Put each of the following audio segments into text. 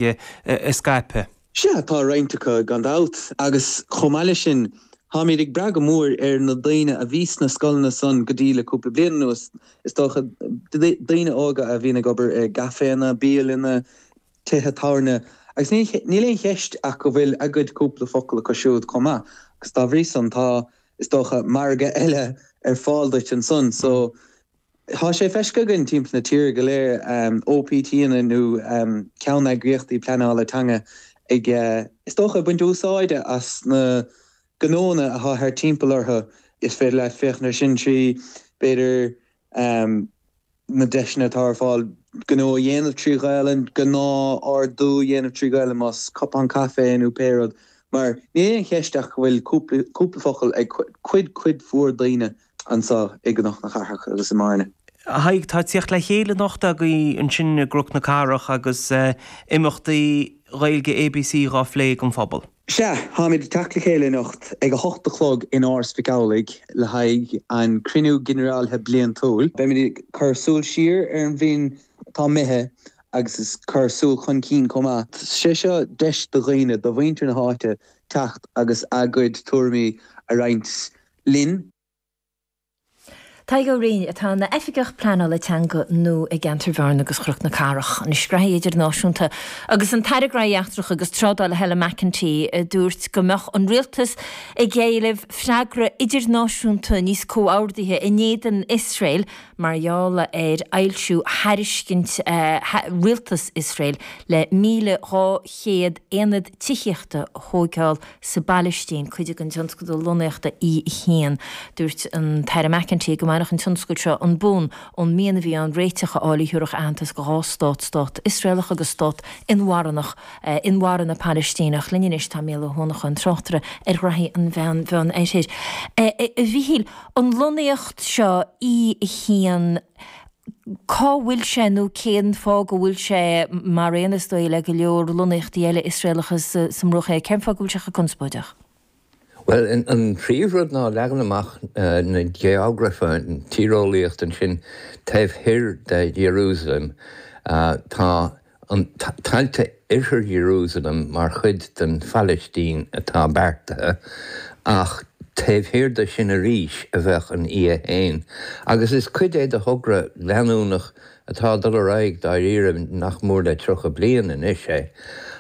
a scaipeadh. Sea, tá roinnt acu, gan dabht, agus chomh maith leis sin, táimid ag brath go mór ar na daoine a bhí sna scoileanna san go dtí le cúpla bliain anuas, is dócha, daoine óga a bhíonn ag obair i gcaiféanna, bialanna, tithe tábhairne, agus níl aon cheist ach go bhfuil a gcuid cúpla focal acu siúd chomh maith, agus dá bhrí san, tá, is dócha, margadh eile ar fáil duit ansan. So. Tá sé feiscithe againn timpeall na tíre go léir, OPTanna nó ceanneagraíochtaí pleanála teanga ag, is dócha, ag baint úsáide as na gnónna atá thart timpeall orthu. Is féidir leat féachaint air sin trí, b'fhéidir, na deiseanna atá ar fáil gnó a dhéanamh trí Ghaelainn, gnáth-ordú a dhéanamh trí Ghaelainn, más cupán caife é nó pé rud. Mar níl aon cheist ach go bhfuil cúpla focal ag cuid, cuid mhór daoine anseo i gCnoc na Cathrach agus i mBearna. A Thaidhg, tá tíocht le chéile anocht agaibh ansin i gCnoc na Cathrach agus imeachtaí Ghaeilge ABC dhá phlé ag an phobal. Sea, táimid ag teacht le chéile anocht ag a hocht a chlog in Áras Mhic Amhlaigh le haghaidh an Cruinniú Ginearálta Bliantúil. Beimid ag cur súil siar ar an bhliain atá imithe agus ag cur súil chun cinn chomh maith. Sé seo deis do dhaoine, do mhuintir na háite teacht agus a gcuid tuairimí a roinnt linn. Tadhg Ó Rinn, atá ina Oifigeach Pleanála Teanga nua i gceantar Bhearna agus Chnoc na Cathrach, Anois graithí idirnáisiúnta agus an tAire Graithí Eachtracha agus Trádála Helen McEntee a dúirt go mbeadh an rialtas ag éileamh freagra idirnáisiúnta níos comhordaithe in éadan Iosrael mar gheall ar fhoilsiú thairiscint rialtas Iosrael le 1,200 aonad tithíochta a thóigeáil sa bPailistín, cuid den tionscadal lonnaíochta E1. Dúirt an tAire McEntee go mbainfeadh an tionscal seo an bonn ón mian a bhí ann réiteach a fháil a thabharfadh aitheantas do dhá stát, stát Iosraelach agus stát inmharthanach, inmharthana Palaistíneach. Linn anois tá Mícheál Ó hUanacháin, tráchtaire ar ghraithí an Mheán-Oirthir. A Mhíchíl, an lonnaíocht seo E1, Cá bhfuil sé nó cén fáth go bhfuil sé, mar aon is dóigh le go leor lonnaíochtaí eile Iosraelacha sa mBruach Thiar, cén fáth go bhfuil sé chomh conspóideach? Bhuel, an príomhrud ná leagan amach na geograife, an tíreolaíocht ansin taobh thoir de Iarúsailéim. Tá an tailte oirthear Iarúsailéim mar chuid den Phalaistín atá beartaithe, ach taobh thiar de sin arís a bheadh an E1. Agus is cuid é de thogra leanúnach atá ag dul ar aghaidh dáiríre nach mór le 30 bliain anois é,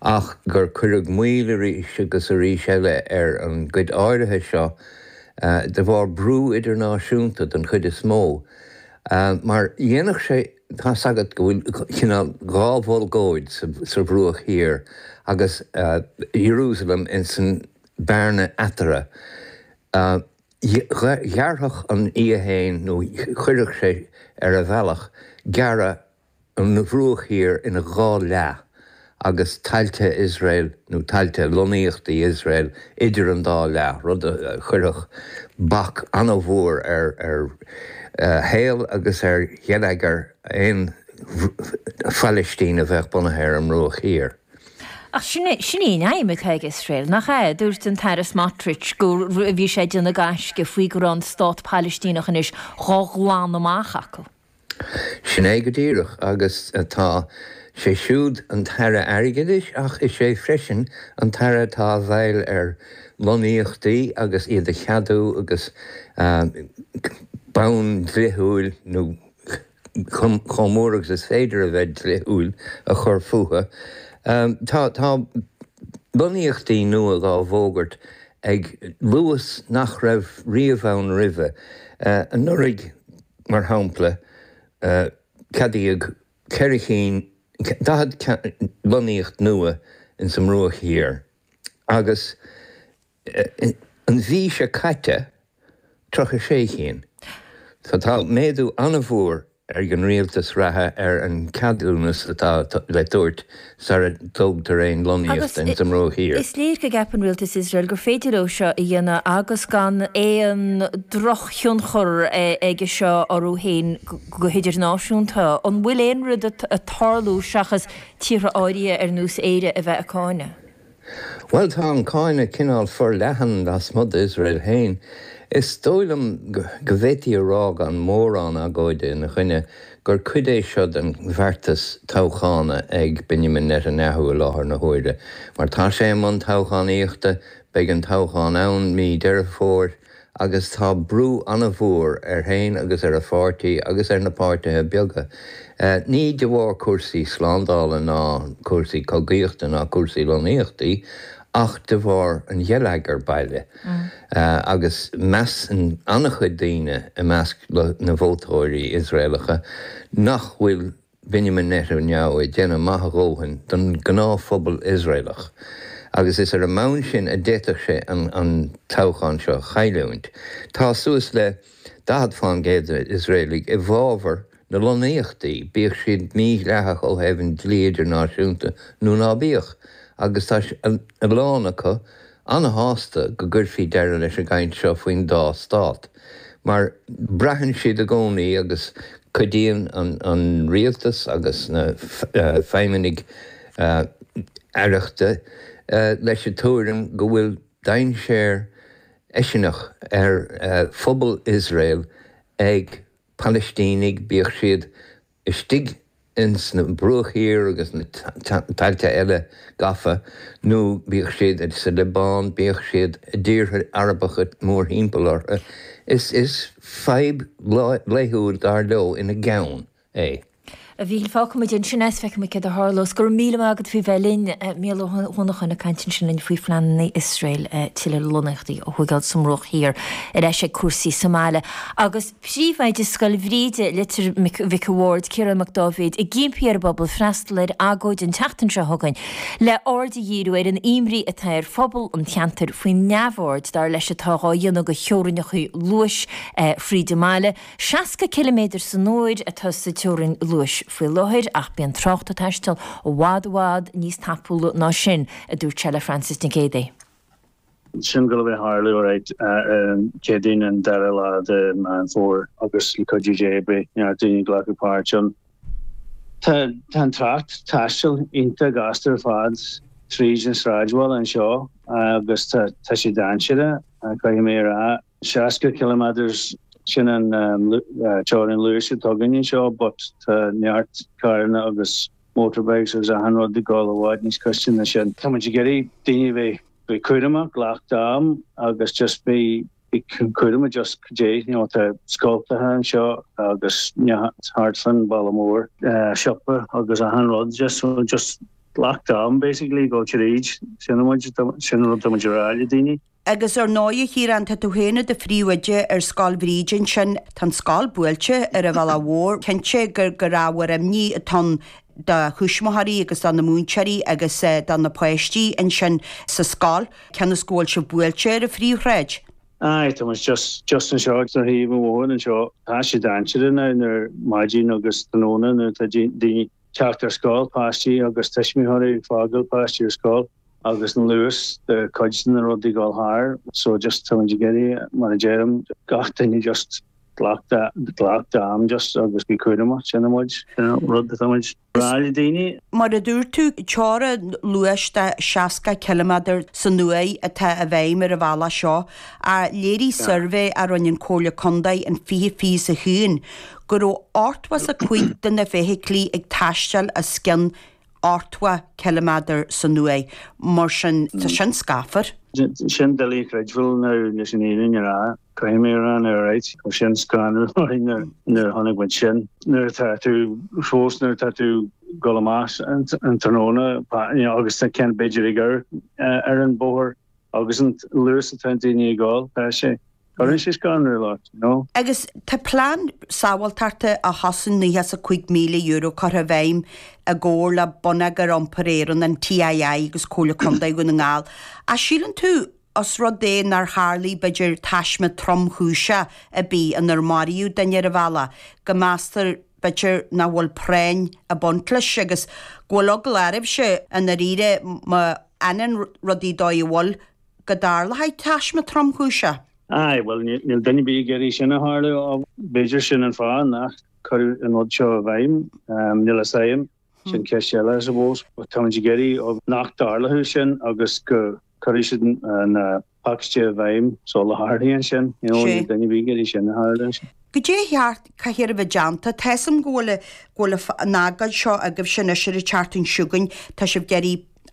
ach gur cuireadh moill arís agus arís eile ar an gcuid áirithe seo de bharr brú idirnáisiúnta den chuid is mó. Mar dhéanfadh sé. Tá's agat go bhfuil cineál dhá bholgóid sa Bhruach Thiar agus Ierúsalem ins an bearna eatarthu. Ghearrfadh an E1 nó chuirfeadh sé ar a bhealach gearradh an Bhruach Thiar ina dhá leath. agus tailte Iosrael nó tailte lonnaíochtaí Iosrael idir an dá leath, rud a chuirfeadh bac an-mhór ar shaol agus ar gheilleagar aon Phalaistín a bheadh bunaithe ar an mBruach Thiar. Ach sin é, sin í an aidhm atá ag Iosrael, nach ea? Dúirt an tAire Smotrich go bhí sé ag déanamh gaisce faoi go raibh an stát Palaistíneach anois dhá ghlanadh amach acu. Sin é go díreach, agus tá sé siúd an tAire Airgeadais ach is é freisin an tAire atá i bhfeighil ar lonnaíochtaí agus iad a cheadú agus bonn dlíthiúil nó chomh mór agus is féidir a bheith dlíthiúil a chur fúthu. Tá tá lonnaíochtaí nua dhá bhfógairt ag luas nach raibh riamh ann roimhe. Anuraidh Mar shampla, ceadaíodh 4 cinn, 40 lonnaíocht nua ins an mBruach Thiar agus an mhí seo caite 36 cinn. So tá méadú an-mhór ag an rialtas reatha ar an ceadúnas atá le tabhairt sara dtógtar aon lonnaíocht ins an mBruach Thiar. Is léir go gceapann rialtas Iosrael gur féidir leo seo a dhéanamh agus gan aon drochthionchar aige seo orthu féin go hidirnáisiúnta. An bhfuil aon rud ag tarlú seachas tíortha áirithe ar nós Éire a bheith ag cáineadh? Bhuel, tá an cáineadh cineál forleathan lasmuigh d'Iosrael féin. Is dóigh liom go bhféadfaí a rá gan mórán agóide ina choinne gur cuid é seo den bheartas toghchána ag Benjamin Netanyahu i láthair na huaire. Mar tá sé i mbun toghchánaíochta, beidh an toghchán ann mí Deireadh Fómhair, agus tá brú an-mhór air féin agus ar a pháirtí agus ar na páirtithe beaga, ní de bharr cúrsaí slándála ná cúrsaí cogaíochta ná cúrsaí lonnaíochtaí ach de bharr an gheilleagair baile. Agus measann an-chuid daoine i measc na vótóirí Iosraelacha nach bhfuil Benjamin Netanyahu ag déanamh maith a dhóthain don ghnáthphobal Iosraelach agus is ar an mbonn sin a d'fhéadfadh sé an toghchán seo a chailliúint. Tá suas le 40 fán gcéad d'Iosraelaigh i bhfabhar na lonnaíochtaí, bíodh siad mídhleathach ó thaobh an dlí idirnáisiúnta nó ná bíodh, agus tá a lán acu an-shásta go gcuirfí deireadh leis an gcaint seo faoin dá stát, mar braitheann siad i gcónaí, agus cuidíonn an rialtas agus na feidhmeannaigh aireachta leis an tuairim go bhfuil dainséar eiseanach ar phobal Iosrael ag Palaistínigh, bíodh siad istigh ins na Bruach Thiar agus na tailte eile gafa, nó bíodh siad sa Liobáin, bíodh siad i dtíortha Arabacha mórthimpeall orthu, is is fadhb laethúil dar leo ina gceann é. A Mhíchíl, fágfaidh muid ansin é is feicfidh muid céard a tharlós. Go raibh míle maith agat faoi bheith linn. Mícheál Ó hUanacháin ag caint ansin linn faoi phleananna Iosrael tuilleadh lonnaíochtaí a thógáil sa mBruach Thiar ar ais ag cúrsaí sa mbaile agus Príomhoide Scoil Bhríde, Leitir Mhic a' Bhaird, Ciarán Mac Dáibhéid, ag impí ar an bpobal freastal ar agóid an tseachtain seo chugainn le aird a dhíriú ar an imní atá ar phobal an cheantair faoin neamhaird, dar leis, atá dhá dhéanamh de theorainneacha luais fríd an mbaile. 60 ciliméadar san uair atá sa teorainn luais faoi láthair ach bíonn trácht ag taisteal i bhfad i bhfad níos tapúla ná sin, a dúirt sé le Frances Nic Géadaigh. Sin ag gabháil a bheith ag tarlú alright ar an Chéadaoin an dara lá de Meán Fómhair agus le cuidiú Dé beidh neart daoine ag glacadh páirt ann. Tá an trácht taistil iontach gasta ar fad tríd an sráidbhaile anseo agus tá tá sé dainséarach caithfidh mé a rá. 60 kilometres sin an teorainn luais atá againn anseo but tá neart carranna agus motorbikes agus achan rud ag dul i bhfad níos gaiste ná sin. Tá muid ag iarraidh daoine a bheith bheith cúramach, glac d'am agus just bí cúramach just cad é, you know, tá scoltacha anseo agus thart fán bhaile mór, siopa agus achan rud just so just glac d'am basically go tríd, sin muid, sin an rud tá muid a rá le daoine. Agus ar ndóigh, a Chiaráin, tá tú féin i do phríomhoide ar Scoil Bhríde ansin. Tá an scoil buailte ar an bhealach mhór. Cinnte gur gur ábhar imní atá ann do thuismitheoirí agus do na múinteoirí agus do na páistí ansin sa scoil, cionn is go bhfuil sibh buailte ar an phríomhshráid. Aye, tá muid just just anseo ar thaobh an bhóthair anseo. Tá sé dainséarach now nuair maidin agus tráthnóna nuair atá daoine teacht ar scoil, páistí agus tuismitheoirí ag fágáil páistí ar scoil. agus an luas de cuid de na rudaí ag dul thar so just tá muid ag iarraidh mar a deirim gach duine just glac glac d'am just agus bí cúramach sin an muid sin an rud atá muid ag rá le daoine. Mar a dúirt tú, teorainn luais de 60 ciliméadar san uair atá i bhfeidhm ar an bhealach seo ach léirigh suirbhé a rinne an Comhairle Contae in 2021 go raibh 85 de na feithiclí ag taisteal os cionn 80 ciliméadar san uair, mar sin tá sin scáfar. Sin doiligh a chreidbheáil now leis an fhírinne a rá, caithfidh mé a rá now alright, chuir sin scanrú orainn nuair a chonaic muid sin. Nuair atá tú fós nuair atá tú ag dul amach an tráthnóna agus tá ceann b'fhéidir ag amharc ar an bóthar Agus an luas atá daoine ag dul, tá sé, cuireann sé scanrú ort, you know. Agus tá plean sábháilteachta a chosain €95,000 curtha i bhfeidhm i gcomhar le Bonneagar Iompair Éireann, an TII agus Comhairle Contae Dhún na nGall. Ach síleann tú, os rud é nár tharlaigh b'fhéidir taisme tromchúiseach ar bith inar maraíodh duine ar an bhealach, go meastar b'fhéidir nach bhfuil práinn ag baint leis agus go bhfuil eagla oraibhse i ndáiríre má fhanann rudaí dóigh a bhfuil, go dtarlóidh taisme tromchúiseach. Aye, bhuel, níl duine ar bith ag iarraidh sin a tharlú. B'fhéidir sin an fáth nach cuireadh an rud seo i bhfeidhm. Níl a fhios agam. Sin ceist eile, I suppose. But táimid ag iarraidh nach dtarlódh sin agus go cuirfidh siad na pacáistí i bhfeidhm sula tharlaíonn sin. You know, níl duine ar bith ag iarraidh sin a tharlú. Goidé a cheart, caithfidh a bheith déanta. Tá 'fhios a'm go bhfuil, go bhfuil an agóid seo agaibhse anois ar an tseachtain seo chugainn. Tá sibh ag iarraidh.